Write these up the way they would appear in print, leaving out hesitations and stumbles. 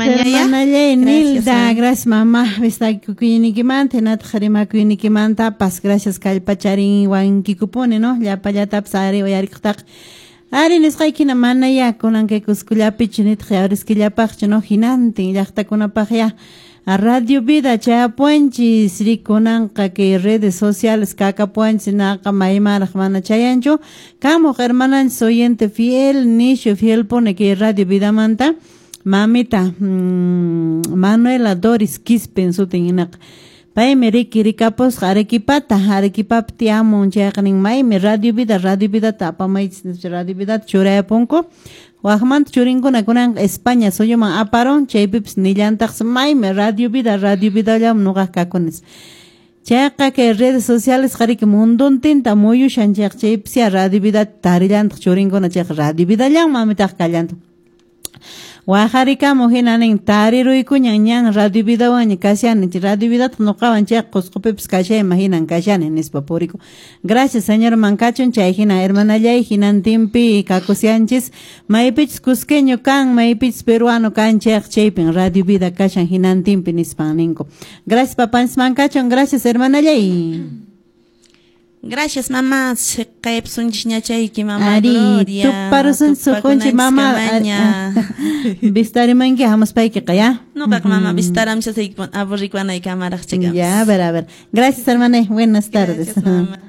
Hermanallay Nilda, gracias mamá, vistakuynikimanta, hinataq rimakuynikimantapas, gracias kallpacharinwankikupuni, no? Llapallatapas ari uyarikuqtaqa. Ari nisqaykina manaya kunan kay Cuscollapichu nitaq yawriskillapaqchu, no? Hinantin llaqtakunapaq ya Radio Vida chayapuanchis, rikunanqa kay redes sociales kakapuanchis, naqa maymanraq mana chayanchu. Kamuq hermananchis oyente fiel, nishu fiel pone kay Radio Vidamanta, mamita Manuela Doris Quispe sutin hinaqa. Paymi riki rikapusqa Arequipata, Arequipapi tiyamun chayqa nin maymi Radio Vida, Radio Vidata apamaychis, Radio Vidata churayapunku. Waqmanta churinkuna kunanqa España suyuman aparun, chaypipas nillantaqsi maymi Radio Vida, Radio Vidallam nuqaq kakunis. Chayqa kay redes sociales qariki munduntinta muyushan chayqa chaypis ya Radio Vidata tarillantaq churinkuna chayqa Radio Vidallam mamitaq kallantaq. Waqarikamu hina nin tariruykuñan ñan Radio Vidawanña kashani, Radio Vidata nuqawan chayqa Cuscopipas kashayman hinan kashani nispa puriku. Gracias señor Mancachun, chay hina hermanallay hinantinpi kakusyanchis, maypichus cusqueño kan, maypichus peruano kan chayqa chaypin Radio Vida kashan hinantinpi nispan ninku. Gracias papanchis Mancachun, gracias hermanallay. Gracias mamá, kaypsunchis ñachayki mamá Ari, Gloria. Tuparusun sukunchi mamá. Vistarimanki hamuspaykiqa ya. Nuqaq mamá vistaramshasayki aburrikuwanaykamaraq chikam. Ya, a ver, a ver. Gracias hermana, buenas tardes. Gracias, mamá.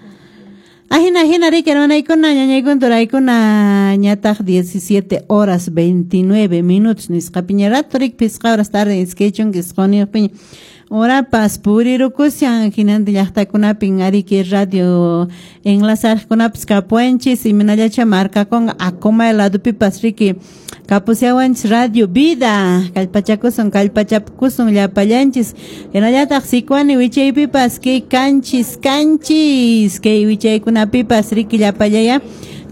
Ajina, ajina, riki hermanaykuna, ñañaykuna, turaykuna, ñataq 17 horas 29 minutos nisqapiña rato riki pisqa horas tarde iskaychunka isquniyuqpiña. Orapas purirukushan hinantin llaqtakunapin ariki radio enlazarkunapas kapuanchis imaynallacha markakunqa Acomay ladopipas riki kapusyawanchis Radio Vida kallpachakusun kallpachapukusun llapallanchis hinallataq Sicuani wichaypipas kay kanchis kanchis kay wichaykunapipas riki llapallaya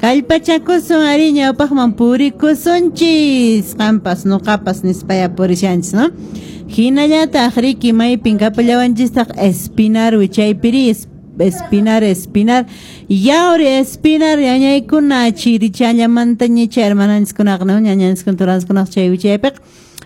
kallpachakusun ari ñawpaqman purikusunchis qampas nuqapas nispaya purishanchis, no? Hinallataq riki maypin kapallawanchistaq Espinar wichaypiri Espinar, Espinar, Yauri Espinar ñañaykuna chirichallamanta ñicha hermananchiskunaqa, no? Ñañanchiskuna turanchiskunaqa chay wichaypiqa.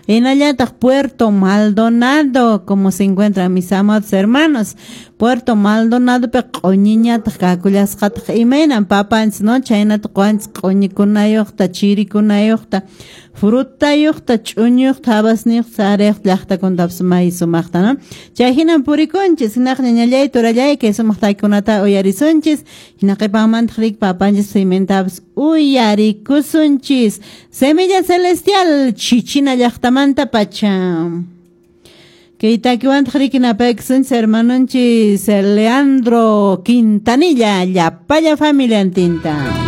Hinallataq Puerto Maldonado, como se encuentran mis amados hermanos, Puerto Maldonado pe q'uñiñataq kakullasqataq imaynan papanchis, no? Chaynata quwanchis q'uñikunayuqta, chirikunayuqta, frutayuqta, ch'uñuyuqta, habasniyuqta, sarayuqta llaqtakunatapas may sumaqta, no? Chay hinan purikunchis, hinaq ñañallay, turallay, kay sumaq takikunata uyarisunchis, hina qhipanmantaq riki papanchis cimentapas uyarikusunchis. Semilla Celestial, Chichina llaqtamanta pacha. Kay takiwantaq riki napaykusunchis hermanonchis Leandro Quintanilla, llapalla familiantinta.